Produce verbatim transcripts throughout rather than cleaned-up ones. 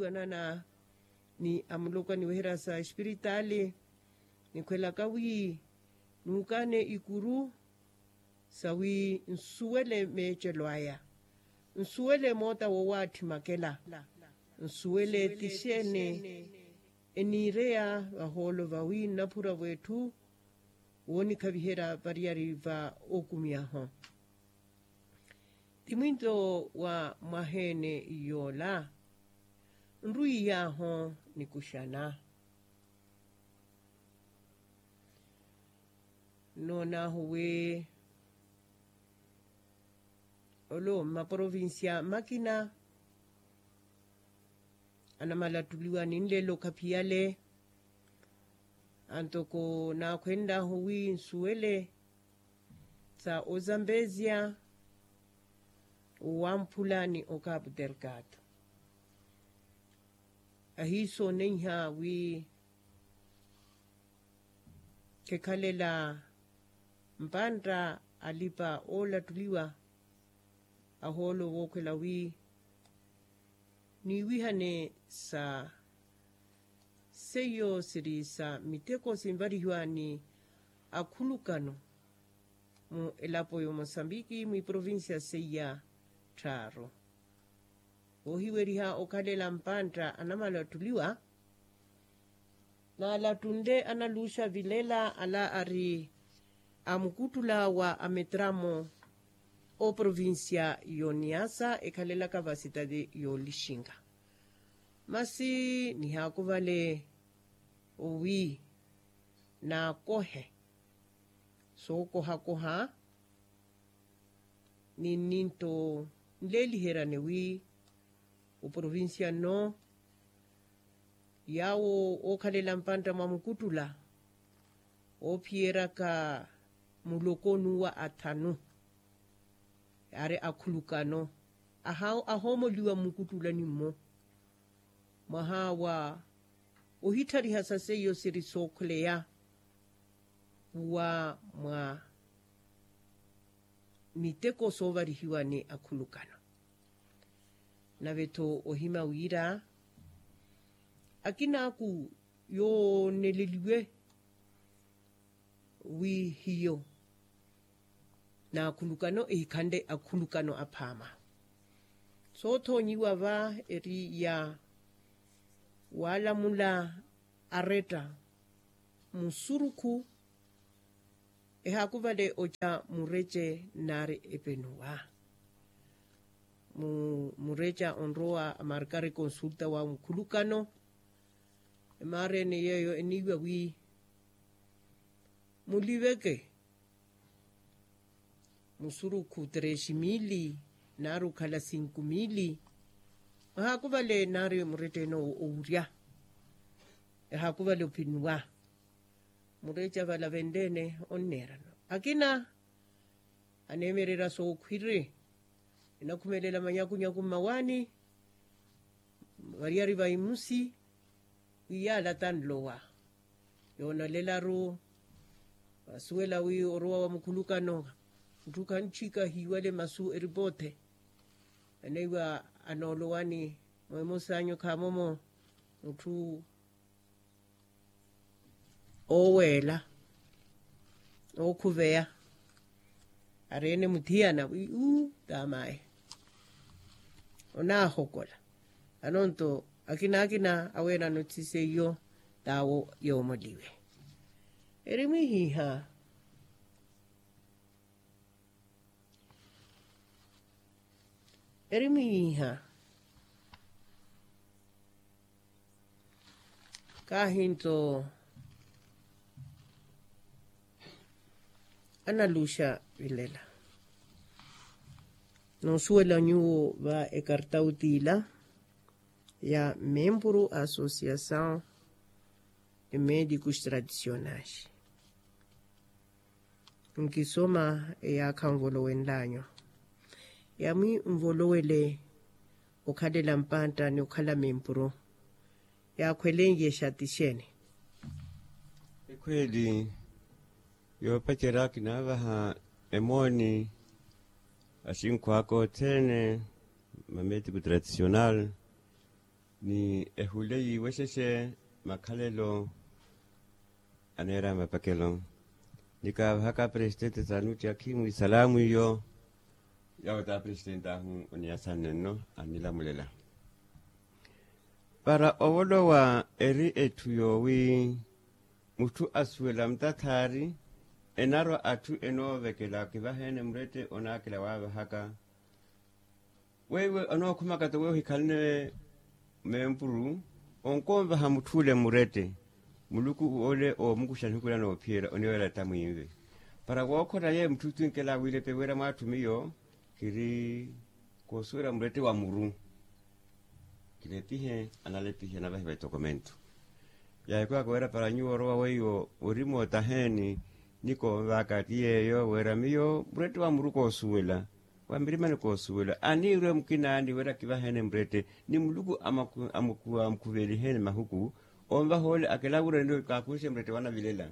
Anana ni amuloko aniweherya sa espiritaali, nikhwelaka wi nuukaane ikuru sawi nsuwele meecelo aya, nsuwele moota wowaatthimakela, nsuwele ti xeeni eniireya vahoolo vawi nnaphura v'etthu woonikhaviherya variyari va okumiyaho. Ti mwinto wa mwaheene yoola nrwiiy'ahu nikuxana. Nnoon'ahu wi olo mmaprovincia makina anamalattuliwa ninlelo khaphiyale, antoko naakhwenl'ahu wi nsuwele sa ozambezia, owamphula ni okapu dergado. Ahiisooneiha wi khekhalela mpantta alipa oolattuliwa, ahoolo vookhwela wi niiwihane sa seiyo siri sa miteko sinvarihiwa ni akhulukano mu elapo y'omosambiki mwiprovincia seiya tthaaru. Voohiweriha okhalela mpantta anamalattuliwa, naalattunle analuuxa vilela ala ari amukuttula wa ametramo oprovincia y'oniasa ekhalelaka vasitati y'olixinga. Masi nihaakuvale owi naakohe sookohakoha ni nninto nleeliheryane wi oprovincia nno yaawo ookhalela mpantta mwa mukuttula oophiyeryaka muloko nuwa athanu yaari akhulukano ahoomoliwa mmukuttulani mmo mwaha wa ohitthariha sa seiyo siri sookhuleya wa mwa miteko soovarihiwa ni akhulukano. Nave-tho ohima wira akinaaku yooneleliwe wi hiyo n'akhulukano ehikhanle akhulukano aphaama. Soothoonyiwa va eri ya waalamula aretta musurukhu ehaakuvale oca murece nnaari epenuwa. Murece onrowa amarkari konsulta wa mukhulukano emaarene yeeyo eniiwa wi muliveke musurukhu trexi mili nnaari okhala sinku mili. Ehaakuvale nnaari murette-ene owurya ehaakuvale opinuwa. Murece avala venle-ene onneerano akina aneemererya sookhwiri enakhumelela manyakunyaku mmawaani variyari va imusi wi yaala tanlowa yoonalelaru. Vasuwela wi orowa wa mukhulukano mutthu khanchika hiiwale masu eripoothe aneiwa anoolowani mweemosaanyu khaamomo mutthu ooweela ookhuveya ari-ene muthiyana wi uu taamaye onaahokola. Anonto akina akina aweerano ti seiyo taawo yoomoliwe eri mwihiha eri mwihiha. Kaahinto analuxa vilela noosuwela nyuwo va ekartauti ila ya membru associação de médicos tradicionais. Nkisoma eyaakha nvolowenlanyu yamwi nvolowele okhalela mpantta ni okhala mempuru yaakhwelenye xati xeeni? Ekhweeli yoopacerya kinaavaha emooni axinkhu aka othene mametiku tradicional Ni ehule yiiwexexe makhalelo aneera mapakelo. Nikaavahaka apresitente sanuti akhimu isalaamu iyo. Yawo ta apresitente ahu oniyasanne nno annilamulela para ovolowa eri etthu yoowi mutthu asuwela mutathaari enarwa atthu enoovekela kivaheene murette onaakela waavahaka. Weiwe onookhumaka-tho weiwe ohikhalane meempuru onkonvaha mutth'ule murette muluku ole oomukuxa nihiku ila noophiyela oniwelela tamwiinve. Para wookhota yeeyo mutthu tinkela wiilepe wira mwatthu miyo kiri koosuwela murette wa muru. Kilepihe analepihe anavahiva etokomento. Yaahikwaaka wira para nyuwo orowa weiwo ori mootaheeni. Nikonvaaka ti yeeyo wira miyo murette wa muru koosuwela wa mirimani koosuwela aniirwe mukinaani wira kivaheene murette ni muluku amukhuveliheni mahuku onvaha ole akelawureni kaakuxe murette wanavilela.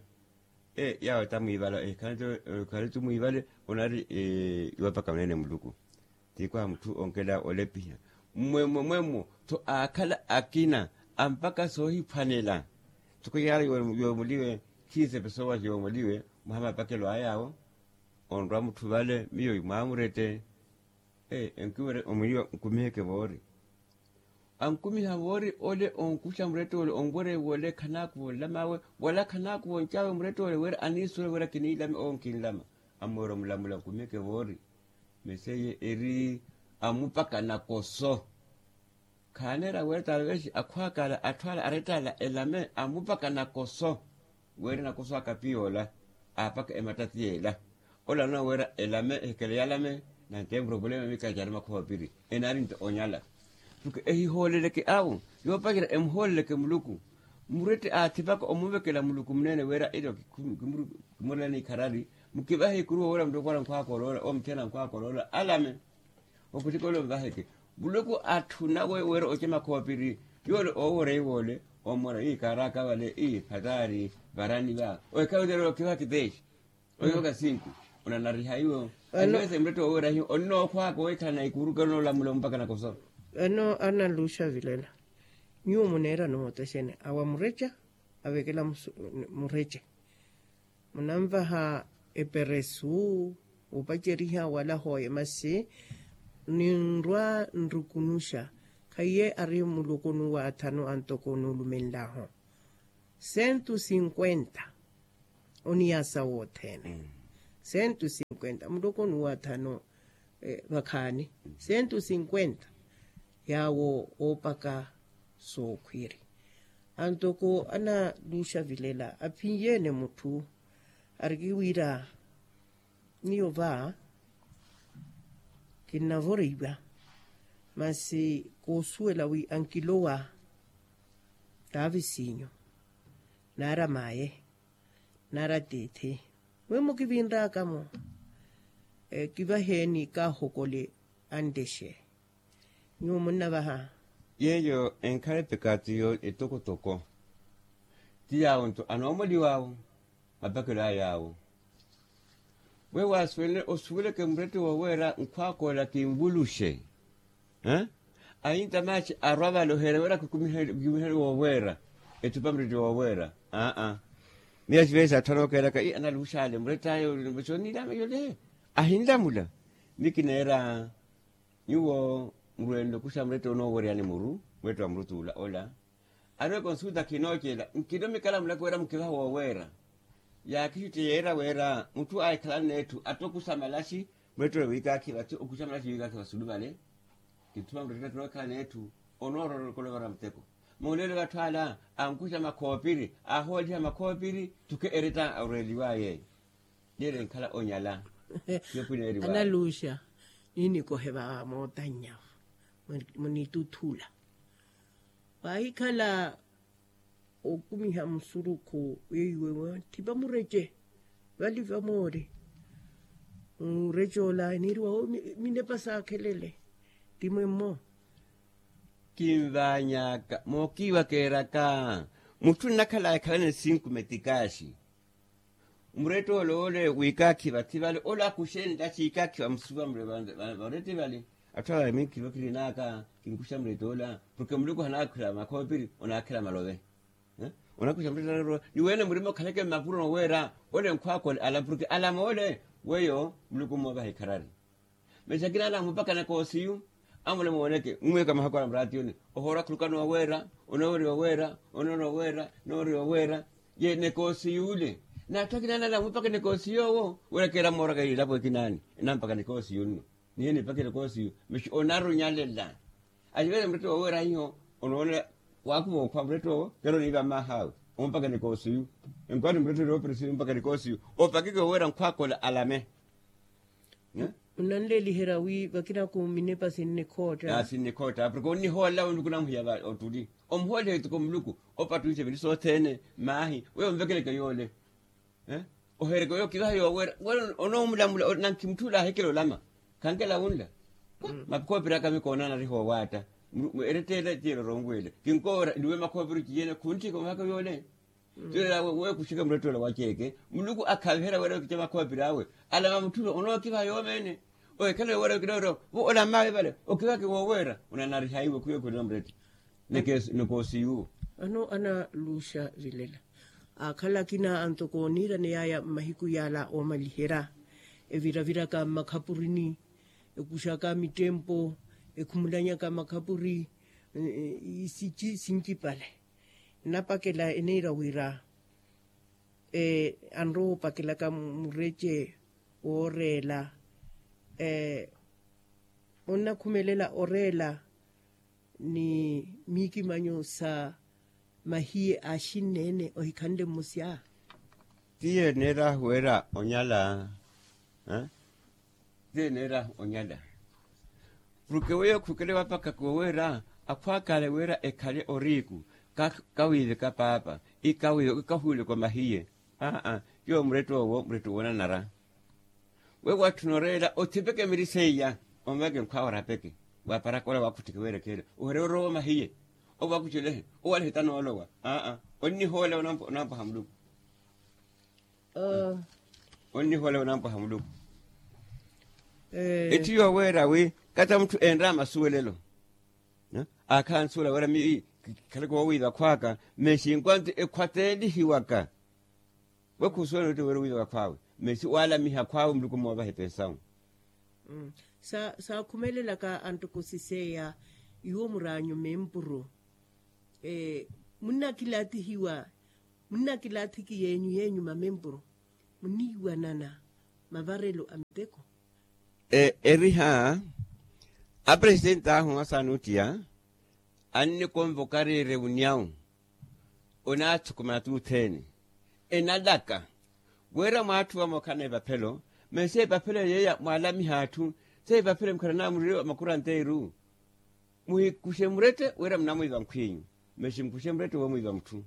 Yaawe ta mwiivala ekhale tu mwiivale onari iwapaka muneene muluku. Tiikwaha mutthu onkela olepiha mmwemmo mwemmo tho aakhala akina ampaka soohiphwanela. Toko yaala yoomuliwe khiisepe soowahi yoomuliwe mwaha mapakelo ayaawo. Onrwa mutthu vale miyo mwaamurette. Enkiwerya omwiiwa nkumiheke voori. Ankumiha voori ole onkuxa murette ole onwerya wole khanaakuva onlamawe wala khanaakuva oncawe murette ole wira aniisuwela wira kiniilame owo nkinlama. Amoora omulamula nkumiheke voori. Mesi eye eri amupaka nakoso. Khaaneera wira talvesi akhwakala atthu ala arettala elame amupaka nakoso. Wira nakoso akapi yoola aapaka emattati yeela. Ola anoona wira elame ehikele yalame. Nanteemura opulema mikacari makhoopiri enaari nto onyala. Porque ehihooleleke awo yoopacerya emuhooleleke muluku. Murette aathipaka omuvekela muluku muneene wira ila kimurela n'ikharari. Mukivahe ikuru woowerya muluku wala nkhwaaka oloola owo muthiyana nkhwaaka oloola alame. Okhutikole omuvaheke muluku atthuna weyo wira oce makhoopiri. Yoole oowerya iwoole omora ii kaaraaka vale ii phataari varani va. Oikhavetera okiva kiteexi oiva kasinku onanariha iwo. Anivese murette woowerya hiyo onookhwaaka oikhala na ikuru kale onoolamula omupaka nakoso. Vano analuxa vilela nyuwo muneera noota xene awa mureca avekela mureca. Munanvaha eperesu opaceriha wala hooye masi ninrwa nrukunuxa. Khaiye ari mulokoni wa athanu antoko nuulumenlahu sentu sinkwenta. Oniyasa wothene sentu sinkwenta mulokoni wa athanu vakhaani sentu sinkwenta. Yaawo oopaka sookhwiiri antoko analuxa vilela aphinyeene mutthu. Ariki wira miyo va kinnavoreiwa masi koosuwela wi ankilowa taavisiinyo naari amaaye naari atiithi mwimu kivinraaka-mo. Kivaheeni kaahokole antexe nyuwo munnavaha. Yeeyo enkhala epekaati yo etokotoko ti yaawo nto anoomoliw'awo mapakelo a yaawo. Weyo waasuwele osuweleke murette wooweera nkhwaakoola kinvuluxe. Ahinta maaxi arwa vale oheerya wira kikumiherye wooweera ethupa murette wooweera. Aa miyo axivesi atthu anookeeraka ii analux'ale murette ayo. Sooniilameyole ahinlamula. Mikineera nyuwo murwenle okuxa murette onooweryani muru murette wa muru t'ula ola. Ari ekonsuta khinoocela nkilomikala mulako wira mukivaha wooweera. Yaakixutte yeera wira mutthu aahikhalana n'etthu attokuxa malaxi murette ole wiikaakhiva ti okuxa malaxi wiikaakhiva sulu vale. Kithuma murette attookhala n'etthu onoorola olokolovara muteko. Moolelo vatthu ala ankuxa makhoopiri ahooliha makhoopiri tuke eretta orweeliwaya eyo. Neera enkhala onyala. Analuxa ninikohe va mootannya munituthula vahikhala okumiha musurukhu weiwe wathipa murece vali vamoori. Murece ola eniiriwa minepa saakhelele ti mwemmo. Kinvaany'aka mookiiwa keeraka mutthu nnakhala ekhalane sinkume tikaaxi. Murette ole ole wiikaakhi vathi vale ole akuxe nttaxi iikaakhi vamusuva mule. Varette vale atthu ala minkhivo kirin'aka Kinkuxa mulete ola porke muluku hanaakhela makhoopiri onaakhela malove. Onaakhela mulete ola ni wene murima okhaleke mmapuro noweera ole nkhwaakole ala porke ala moole weyo muluku mmoovaha ikharari. Masi akina ala amupakanaka osiyu amule mooneke mmwiyaka mahako ala muraatiyoni ohoora khuluka nooweera onoorya oweera onoorya oweera onoorya oweera. Ye nekoosiyu ole n'atthu akina ala amupakanaka osiyu owo wira keera mmooraka ilapo ekinaani enampakanaka osiyu nno. Nihiye nipakele koosi masi onarunyalela. Aciwele murette wooweera hiyo onoonela waakuva okhwa murette owo kero niiva mmaahawe ompakele koosi yu. Enkwati murette ori operesi ompakele koosi yu opakeke wooweera nkhwaakola alame. Munanleeliherya wi vakinaku minepa sinnikhootta sinnikhootta porke onnihoolela onluku namuhiya ottuli omuhoolela etiko muluku opattuwixe vili sothene. Maahi weyo onvekeleke yoole. Ohereke oyo okivaha yooweera wala onoomulamula nanki mutthu ole ahikela olama khankela wunla. Makhoopiri aka mikoona anariha owaatta eretteela tiyeela oronwele kinkoora niwe makhoopiri tiyene khuntthika omahaka yoole. Tiyoolelaawe weekuxeke murettoola waceeke muluku akhaviherya wira okica makhoopiri awe alama mutthu onookivaha yoomeene. Ohikhala yooweera okina wira vo olamaawe vale okivahake wooweera onanariha iwe khuyo khulina murette. Nikoosiyu. Vano analuxa vilela aakhala akina antoko oniiraneyaya mmahiku yaala oomaliherya eviraviraka mmakhapurini ekuxaka mittempo ekhumulanyaka makhapuri isici sincipale. Nnapakela eneira wira anrowa opakelaka murece wooreela onnakhumelela oreela ni miikimanyo sa mahiye axinneene ohikhanle mmusya. Tiye neeraahu weera onyala. Tiye neeraahu onyala porke weyo khukele wapakaka oweera akhwaakale wira ekhale oriiku kawiiveka paapa ikawiive kahuuleke omahiye. Aa yowo murette owo murette owo onanara. Wewo atthuna oreela othipeke miri seiya omveke nkhwaawe orapeke waaparaka ola waakhuttheke weerekheele oherya orowa omahiye. Owakucelehe owalehe tanoolowa aa onnihoolela onampoha muluku. Onnihoolela onampoha muluku. Etthu yooweera wi kata mutthu enre amasuwelelo aakhala ansuwela wira miyo ii kikhaleke woowiiva khwaaka mexi nkwanti ekhwateelihiwaka. We khusuwela oti wira owiiva khwaawe mesi waalamiha khwaawe muluku mmoovaha epensawu. Saakhumelelaka anttoko siseya iwo muraanyu mempuru munnakilaatihiwa munnakilaathiki yeenyu yeenyuma mempuru muniiwanana mavarelo a miteko. Eriha apresitenti ahu asaana ottiya annikonvoka ariire wuniyawu onaathukumana tuuthene enalaka wira mwaatthu vamookhala na epaphelo masi epaphelo yeeya mwaalamiha atthu se epaphelo mukharanaa murire makuranteiru. Muhikuxe murette wira munamwiiva nkhwinyu masi mukuxe murette woomwiiva mutthu.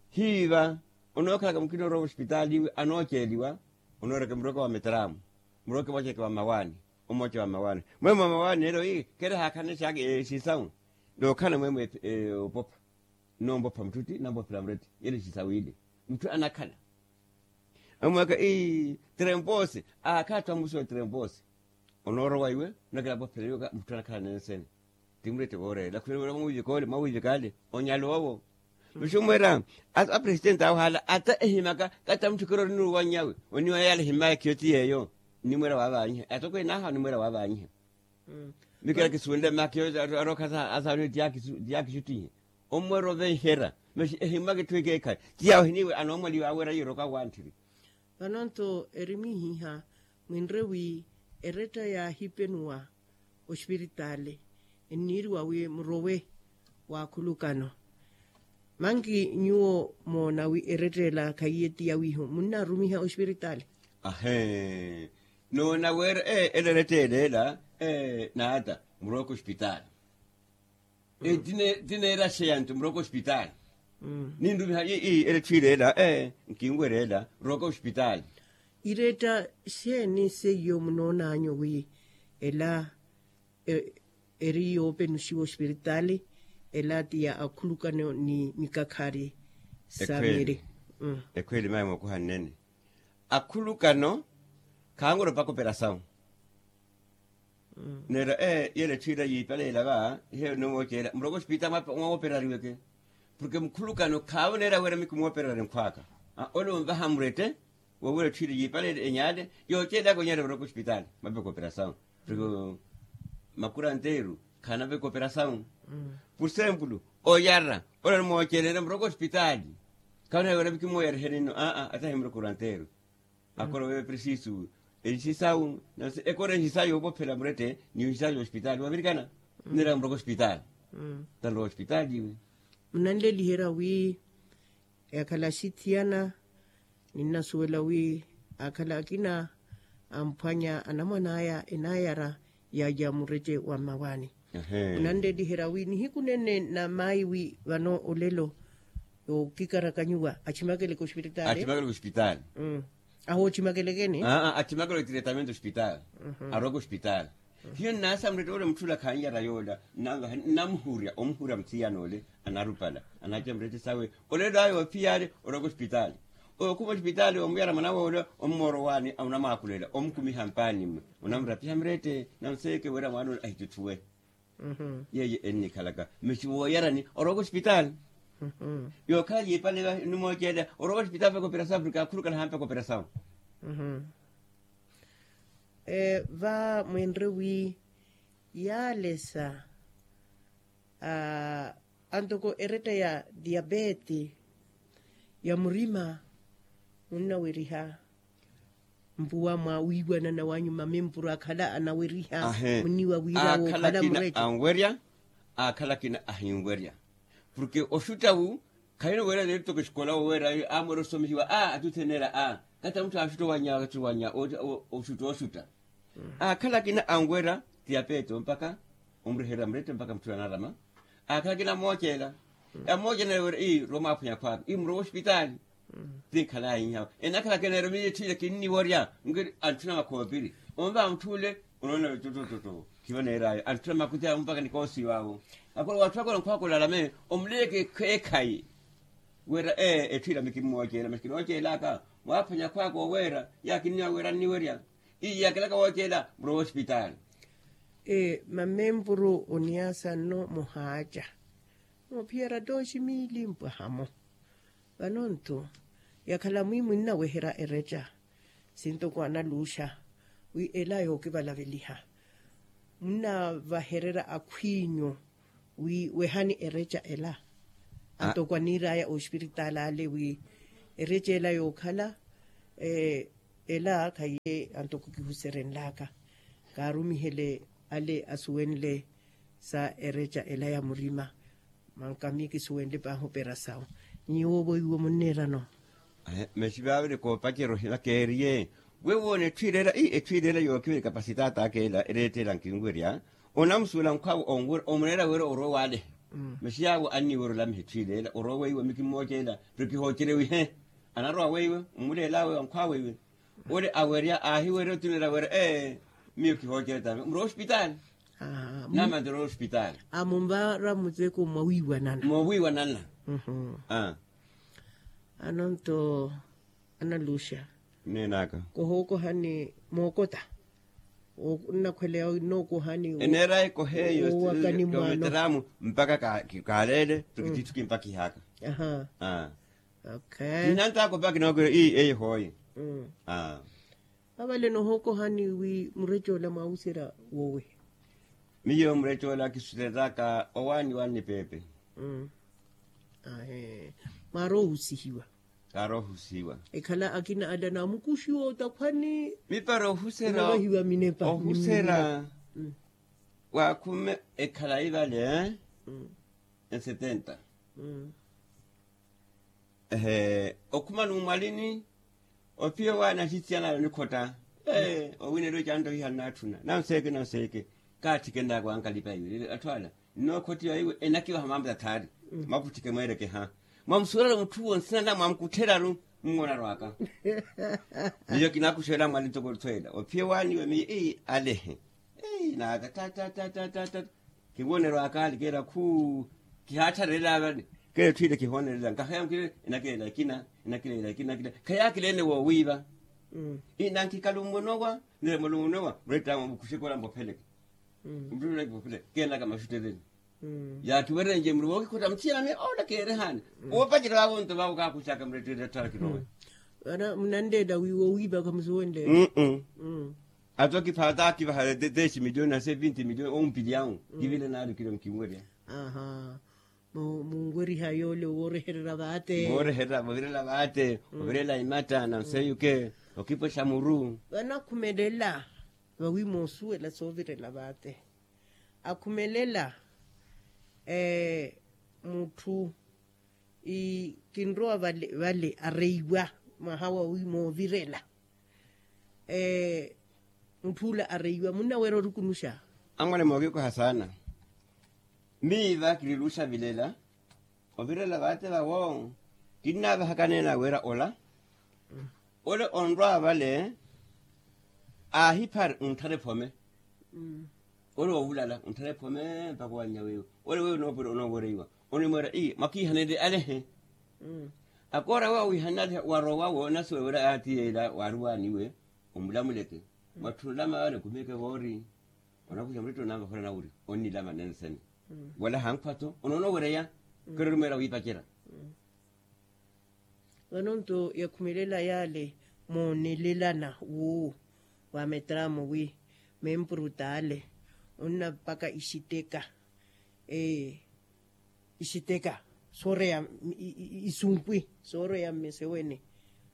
Hiiva onookhalaka mukina orowa osipitaali iwe anooceeliwa onooreke muroke wa metraamu muroke mwaceeke wa mmawaani. Omooce wa mmawaani mwemwe wa mmawaani neelo ii kheera haakhanle xaaka exisawu nookhala mwemwe opopha. Nnompopha mutthu ti nampophela murette yele exisawu ile mutthu anakhala. Amwaka ii trempose aakhattha omusuwa trempose onoorowa iwe onakela apophela iwe mutthu anakhala nensene. Ti murette vooreela khulelo wira mwawiivika ole mwawiivika ale onyala owo. Mixu mwira apresitenti awe haala ata ehimaka kata mutthu kero ori nuuwanyawe oniwa yaala ehimmaya khiyo ti yeeyo. Nnimwira waavanyiha atokweene ahawa onnimwira waavanyiha. Mikira kisuwenle mmaha khiyo arookha asaana eti yaakixuttihe ommwera ovenherya masi ehimmaka etthu ekeekhale ti yawe ohiniiwe anoomwaliwa awe eraiya eroka awanthiri. Vano-nto eri mwiihiha mwinre wi eretta yaahipenuwa oxipiritaali enniiriwa wi murowe w'akhulukano. Manki nyuwo moona wi eretta ela khaiye ti yawiiho munnaarumiha oxipiritaali? Ahee noona wira ee ela eretta ela ela ee n'ata muroweke oxipitaali. Ti neera xeya nto muroweke oxipitaali. Ninrumiha ii ela etthu ila ela ee nkinwerya ela roweke oxipitaali. Iretta xeeni seiyo munoonanyu wi ela eri yoopenuxiwa oxipiritaali ela ti ya akhulukano ni mikakhari sa miri. Ekhweeli mayi mookuha nnene akhulukano khaanwerya opaka operasawu. Neera ee yela etthu ila yiipaleela va ihe onoomoocela muroko ospitaali mwaawoperariweke. Porke mukhulukano khaawoneera wira mikumooperari nkhwaaka. Ole onvaha murette wowira etthu ila yiipaleela enyaale yoocelaka onyala muroko ospitaali mapeka operasawu. Porke makuranteeru khaanapeka operasawu. Pursempulo oyara ole onimoocelene muroko ospitaali. Khawoneera wira mikumooyariheni nno aa atahi muroko oranteeru. Akora weyo presisu enxisawu. Nansi ekora enxisawu yoopophela murette ni onxisawu ya ospitaali wavirikana. Nira muroko ospitaali. Tanrowa ospitaali iwe. Munanleliherya wi yakhala axithiyana ninnasuwela wi akhala akina amphwanya anamwan'aya enayara yaya murette wa mmawaani. Munanleliherya wi nihiku nene na mayi wi vano olelo yookikarakanyiwa atximakeleke ospitaali. Atximakeleke ospitaali. Ahoochimakelekeni. Atximakeleke tiretamento ospitaali. Aroweke ospitaali. Hiyo nnaasa murette ole mutthula khannyara yoola. Nnamuhurya omuhurya muthiyana ole anarupala anaaca murette sawe. Olelo ayo ophiyale oroweke ospitaali. Okhuma ospitaali omuyara mwana woola omumooro owaani onamwaakulela omukumiha mpaani mmwe. Onamurapiha murette nanseeke wira mwaana ole ahitutthuwe. Yeeyo ennikhalaka masi wooyarani orowaka ospitaali. Yookhala yiipale nimooceela orowaka ospitaali mpaka operasawu porke akhulukana hampaka operasawu. Va mwinre wi yaalesa antoko eretta ya diapete ya murima munnaweriha mpuwa mwa wiiwanana wanyu mamempuru akhala anaweriha munniwa wira wookhala murece. Anwerya akhala akina ahinwerya. Porke oxutta wu khalina owerya neeri toko exikola woweera amwerya osomihiwa a atuthenera a kata mutthu axutta owanya axutta owanya oxutta oxutta. Akhala akina anwerya tiyapeto mpaka omuriherya murette mpaka mutthu anarama. Akhala akina amooceela amooceela nawerya ii rowa mwaaphwanya khwaaka ii murowa ospitaali. Ti nkhalaya inhawa enakhala akina eromeiye etthu ile kinniworya. Nkiri antthuna makhoopiri onvaha mutthu ole onoona toto toto. Khivo neer'ayo antthuna makuti awo mpaka nikoosiw'awo. Akora watthu akora nkhwaakolalame omuleyeke ekhayi. Wira ee etthu ila mikimmooceela masi kinooceelaka mwaaphwanya khwaaka oweera. Yaakinniwa wira nniwerya ii yaakelaka wooceela murowa ospitaali. Mamempuru oniyaasa nno muhaaca moophiyara tooxi miili mpwahamo. Vano-nto yakhala mwi munnaweherya ereca sintoko analuuxa wi ela yookivalaveliha munnavahererya akhw'inyu wi wehani ereca ela antoko aniir'aya ospiritaali ale wi ereca ela yookhala ela khaye antoko kihuserenlaka kaarumihele ale asuwenle sa ereca ela ya murima. Manka miyo kisuwenle paahi operasawu nyuwo ovoiwe munneerano. Masi vaaviri koopacerya ohila keeriye we woona etthu ileela ii etthu ileela yookiwa ekapasitaata aka ela ereetta ela nkinwerya. Onamusuwela nkhw'awe onwerya omuleela wira orowa waalehe. Masi yaawo anniwerya olamiha etthu ileela orowa weiwe mikimmooceela pero kihoocerewihe. Anarowa weiwe omuleel'awe onkhw'awe iwe. Ole awerya aahiwerya otunela wira ee miyo kihoocerya tame murowa ospitaali. Namanti orowa ospitaali. Amunvara muteko mwawiiwanana mwawiiwanana. Ano-nto analuxa neenaka kohookohani mookota nnakhweleya nnookohani eneera ekoheeyo owakani mwaano. Mpaka kaaleele tukititthu kimpakihaka. Aha. Kinantaaka opaka kinookira ii eyo hooye. Avale nohookohani wi mureca ola mwaahuserya wowe. Miyo mureca ola kisuseryaka owaani waani peepe. Ahe. Mwaaroohusihiwa. Kaaroohusihiwa. Ekhala akina ala naamukuxiwa otakhwani. Mipara ohuserya ohuserya. Waakhume ekhala ivale esetenta. Ehe okhuma numwalini. Ophiya owaani axisiyana alo nikhotta. Owineriwe canto hiha nnatthuna nanseeke nanseeke. Kaatthike nnaaku ankalipa iwe atthu ala nnookhotti yaiwe enakivaha mambo tathaari. Maputthike mweerekeha mwamusuwelala mutth'uwo nsina na mwamukuttheryaru. Mmuwona rwaka miyo kinakuxela mwali ntoko otthu ela ophiya owaani iwe miyo ii alehe. Naaka ta ta ta ta ta ta. Kiwonero akaali keera khuu. Kihaattharela vale keera etthu ile kihoonerela nkaheya nkile enakileela ekina enakileela ekina enakileela. Khayaakileene woowiiva. Ii nankikala omuwonowa niremela omuwonowa murett'awe mukuxeke ola mbopheleke. Mutthuna kipopile keenaka maxutteleni. Yaakiwerenje muru wookikhutta muthiyana miyo ola keerihani. Woopacerya vavo nto vavo kaakuxaka muretteerya tthara kirowe. Vana munanleela wiiva owiipaka musuwenleela. Ato kiphaata kivaha dez miliyoni nase vinti miliyoni ompilyawu. Kivile naari kilo nkinwerya. Munweriha yoole woorehererya vaate. Woorehererya vaate ovirela imatta na nseyuke. Okipwexa muru. Vana akhumelela vawi moosuwela soovirela vaate. Akhumelela mutthu kinrowa vale areiwa mwaha wawi moovirela. Mutthu ula areiwa munnaweera orukunuxa. Anwale mookiikoha saana. Miiva kiriluxa vilela ovirela vaate vawo. Kinnaavahaka neena weera ola ole onrwa vale. Aahiphari ontthara ephome. Ole woovulala ontthara ephome mpakha owannya weiwo. Ole weiwo onoowereiwa onimweera ii mwakiihanenle alehe. Akoora awe awiihanenle alehe warowawo onasuwela atiyeela waaruwaaniwe. Omulamuleke mwatthunlama wale okhumeke voori. Onakuxa murette onanvakhula nawuri onnilama nensene. Wala hankhwa-tho onoonowereya kero onimweera wiipacerya. Vano nto yakhumelela yaale moonelelana wuuwo wa metramo wi mempuru t'ale onnapaka ixiteka. Ixiteka sooreya isumpwi sooreya mmesewene.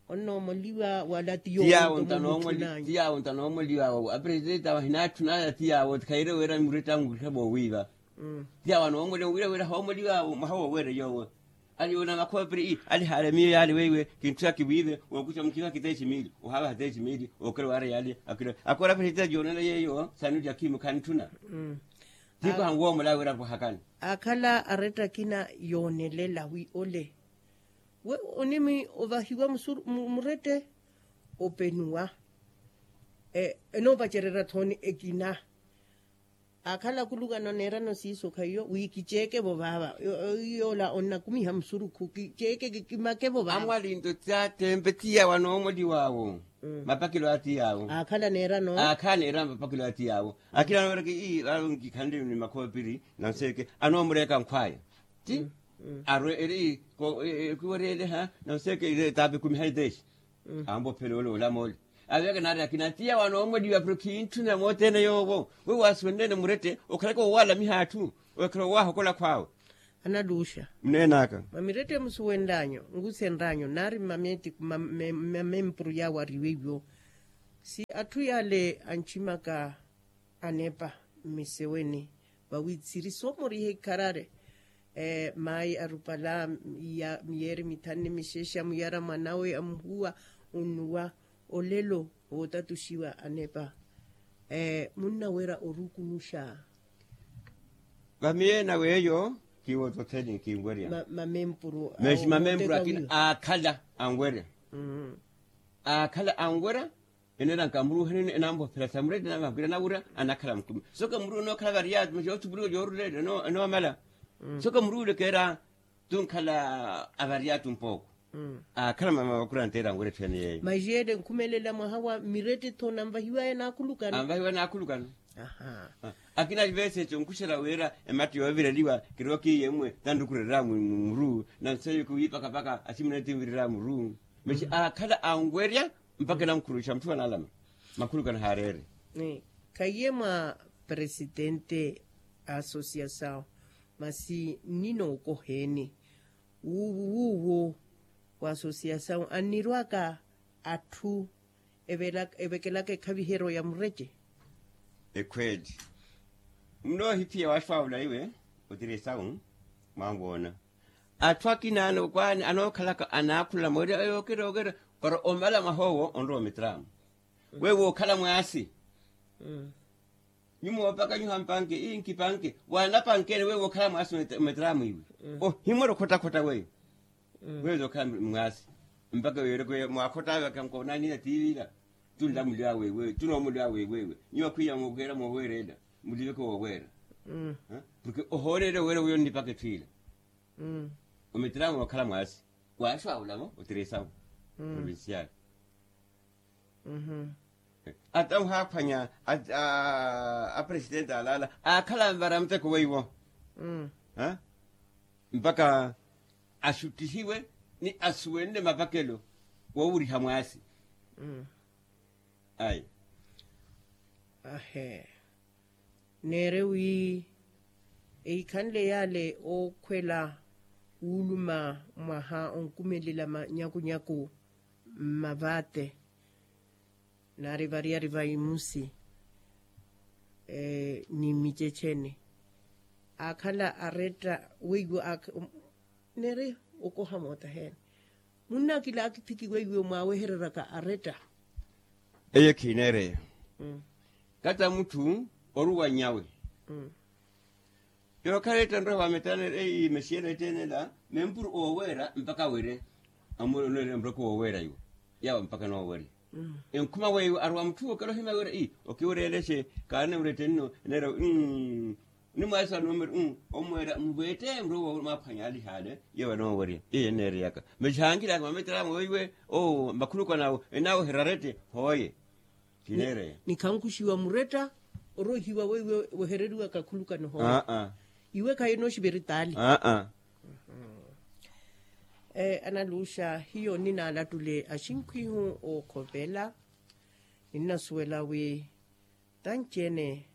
Onnoomoliwa wala ti yoowo nto mutthu nanyu. Ti yaawo nto anoomoliwaawo apresidenti awo ahinaatthunaya ti yaawo ti khayire wira muretta anwikha voowiiva. Ti yaawo anoomoliwa wira wira hoomoliwaawo mwaha wooweera yoowo. Ali yoona makhoopiri ii ali haale miyo yaali weiwe kintthuna kiwiive wookuxa mukiva kiteexi miili ohaavaha teexi miili ookela waara yaali. Akira akoora apresidenti yoonela yeeyo sanuti akhimu khantthuna. Tiiko hanwoomola wira apwahakani. Akhala aretta akina yoonelela wi ole we onimi ovahiwa murette openuwa. Enoopacererya thooni ekina akhala akulukano neerano siiso khaiyo wi kiceeke-vo vaava. Yoola onnakumiha musurukhu kiceeke kikimake-vo vaava. Amwalinto ti atempe ti yaawo anoomoliwaawo. Mapakelo ati yaawo akhala neerano akhala neerano mapakelo ati yaawo. Akina anooreke ii vaawo nkikhanle ni makhoopiri nanseeke anoomureeka nkhwaya ti arwe eri kiwereeleha nanseeke ire etaapi ekumi haiteexi. Ambophela ole olamoole aveke naari akina ti yaawo anoomoliwa pero khintthuna moothene yoowo we waasuwenlene murette okhalaka owaalamiha atthu okhala owaahokola khwaawe. Analuuxa muneen'aka mwa mirette musuwenl'anyu nkusenl'anyu naari mmamempuru yaawo ariweiwo. Si atthu yaale anchimaka anepa mmiseweni vawi siri soomoriha ikharari. Mayi arupala miyeeri mithanu ni mixexa muyara mwanawe amuhuwa onnuwa olelo wootatuxiwa anepa. Munnawerya orukunuxa vamiyeena weeyo kiwoototheni kinwerya. Mamempuru akina aakhala anwerya aakhala anwerya. Eneera nkamuruuhanini enamvophela samureti namahukira nawira anakhala mukumi soka muruuhuni okhala variyatu masi yoothupuliwa yoorulela enoomala. Soka muruuhuli keera tunkhala avariyatu mpooko. Akhala mama vakuranteera anwira etthu ene yeeyo. Maxiyeele nkhumelela mwaha wa mireti-tho nanvahiwaya naakhulukano. Anvahiwaya naakhulukano. Akina veseco nkuxera wira ematta yoovireliwa kirowa kiiye mmwe tanrukurerya muru. Nanseyuku wiipakapaka asimuna tinvirerya muru. Masi aakhala anwerya mpakha enamukhuruxa mutthu anaalama. Makhulukano haareere. Khayiye mwa presitente a asosiasawu masi nninookoheeni wuuwo wuuwo wa asosiasawu annirwaka atthu evekelaka ekhaviheryo ya murece. Ekhweeli munoohiphiya waaxwaawula iwe otiri esawu mwanwoona atthu akina anookwaani anookhalaka anaakhula moori yookira yookira para omala mwaha owo onrowa ometraamu. Weyo wookhala mwaasi nyuma oopaka nyuha mpanke ii nkipanke waanapankeene weyo wookhala mwaasi ometraamu iwe ohimwera okhotakhotta weyo. Weyo zookhala mwaasi mpaka weereke mwaakhotaawe kankoonanina tiivira. Tunlamuliwa wewewe tunoomuliwa wewewe nyuwa khwiya mookeera mooweerela muliveke wooweera. Porke ohooneerya oweera wiyo nnipaka etthu ila ometraamu wookhala mwaasi waaxwaawula-vo otiri esawu provincial. Ata ohaaphwanya apresidenti alaala aakhala anvara muteko weiwo. Mpakha asuttihiwe ni asuwenle mavakelo woowuriha mwaasi. Ayi. Ahe. Neere wi eikhanle yaale ookhwela wuuluma mwaha onkumelela manyakunyaku mmavaate naari variyari va imusi ni mmiceceni aakhala aretta weiwo. Neeri okoha moota heeni munna akila akithiki weiwo mwaawehereryaka aretta. Eye khineereya kata mutthu oruwa nnyawe. Yookhala etta nrowa vametanela eyi mesiyela etteenela mempuru ooweera mpakha wire. Amulonela muroko wooweera iwo yawo mpakha noowerya enkhuma weiwo arowa mutthu okela ohimya wira ii okiwerya eleshe kaanewira ettenno. Neera wi ni mwaasa wa numero. Omweera muveette muro woomaphwanya alihaale yeewa noowerya. Iyo enneereyaka masi hankilaka mamettela amwe weiwe oo makhulukano awo enaaweherya arette hooye. Kineereya ni khankuxiwa muretta orohiwa weiwe wehereriwaka akhulukano hooye. Iwe khayi enooxiva eritaali. Analuxa hiyo ninalattule axinkhwihu ookhovela ninnasuwela wi tanci-ene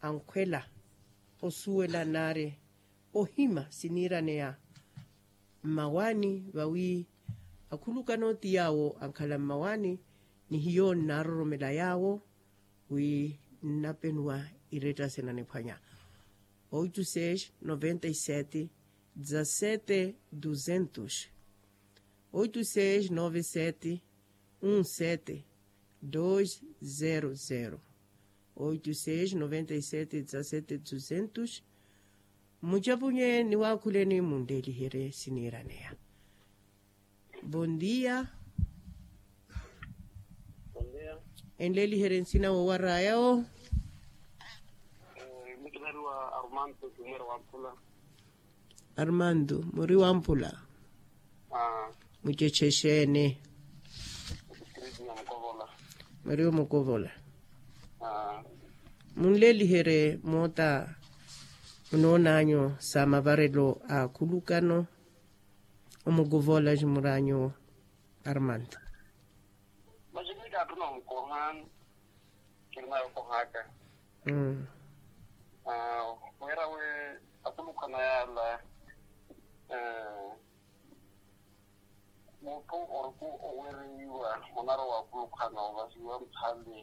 ankhwela osuwela naari ohima siniiraneya mmawaani vawi akhulukano ti yaawo ankhala mmawaani ni hiyo nnaaroromela yaawo wi nnapenuwa iretta sinaniphwanya. Oito seis noventa e sete dezasete duzentos. Oito seis nove sete um sete dois zero zero. Oito seis noventa e sete dezasete duzentos. Mucapunye niwaakhuleni munleeliherye siniiraneya. Bondia. Enleeliherye nsina woowaraya wo. Armando muri wamphula. Mucece exeeni? Muri omukovola. Munleeliherye moota munoonanyu sa mavarelo a akhulukano omukovola ximuraanyu armando. Masi miika atthuna omukoha. Kirina yokohaka. Wira we akhulukhana yaala mutthu orku owereiwa onarowa akhulukhana ovasiwa mphale.